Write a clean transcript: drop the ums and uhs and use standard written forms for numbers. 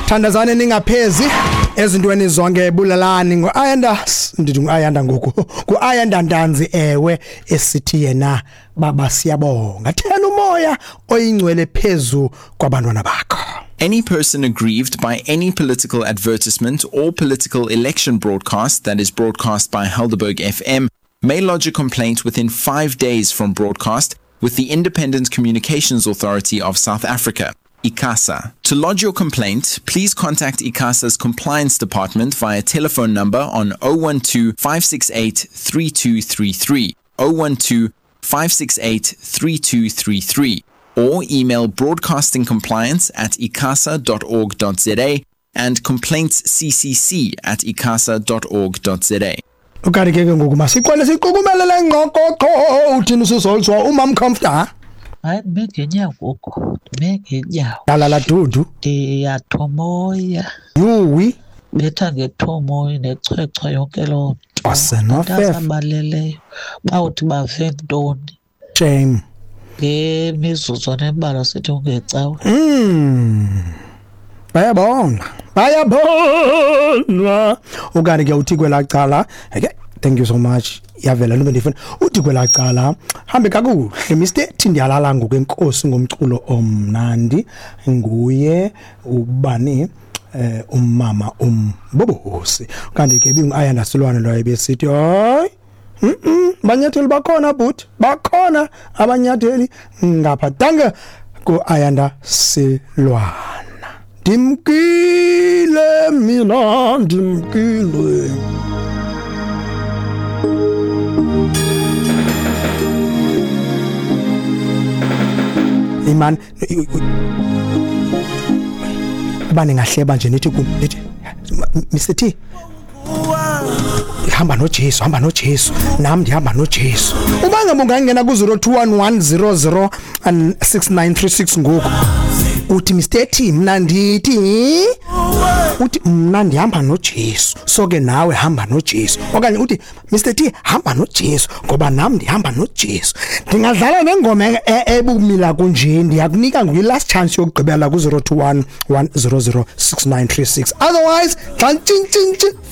Thandazane ningaphezi ezintweni zonke, bulalani nguAyanda, ndithi nguAyanda ngoku, nguAyanda Ntanzi, ewe, esithi yena baba siyabonga, thela umoya oyingcwele phezu kwabantwana bakho. Any person aggrieved by any political advertisement or political election broadcast that is broadcast by Helderberg FM may lodge a complaint within 5 days from broadcast with the Independent Communications Authority of South Africa, ICASA. To lodge your complaint, please contact ICASA's compliance department via telephone number on 012 568 3233, 012 568 3233, or email broadcastingcompliance@icasa.org.za and complaintsccc@icasa.org.za. Ukanti ke ngoku masiqale siqukumele le ngqokoqo. Uthini usizolzwa umam Comforter? Hayi, ndime ngeenyawo ngoku, ndime ngeenyawo. Lala dudu. Ndiyathomoya. Yuwi. Betha ngethomoyi nechwechwa yonke loo nto. Asenofefe. Abaleleyo bawuthi bave ntoni? Shame. Ngemizuzwana embalwa sithi ungecawe. Bayabona. Bayabonwa. Ukanti ke uthi kwelaa cala, ke thank you so much. Yavela nto bendifuna. Uthi kwelaa cala, hambe kakuhle Mr. T, ndiyalala ngoku, enkosi ngomculo omnandi. Nguye ubani umama umbobosi. Kanti ke ibingu-Ayanda Silwane loyo ebesithi hayi, banyatheli bakhona bhuti, bakhona abanyatheli ngapha. Danke ku-Ayanda Silwana. Ndimkile mina, ndimkile. Iman uba ningahleba nje nithi kum, nithi Mr T hamba noJesu, hamba noJesu, nam ndihamba noJesu. Uba ngaba ungangena ku-021 100 6936 ngoku uthi Mr T mna ndithi, uthi mna ndihamba noJesu, so ke nawe hamba noJesu, okanye uthi Mr T hamba noJesu ngoba nam ndihamba noJesu. Ndingadlala nengoma ebumila kunje, ndiyakunika nguyi-last chance yokugqibela ku-021 100 6936, otherwise xa ntshintshintshi.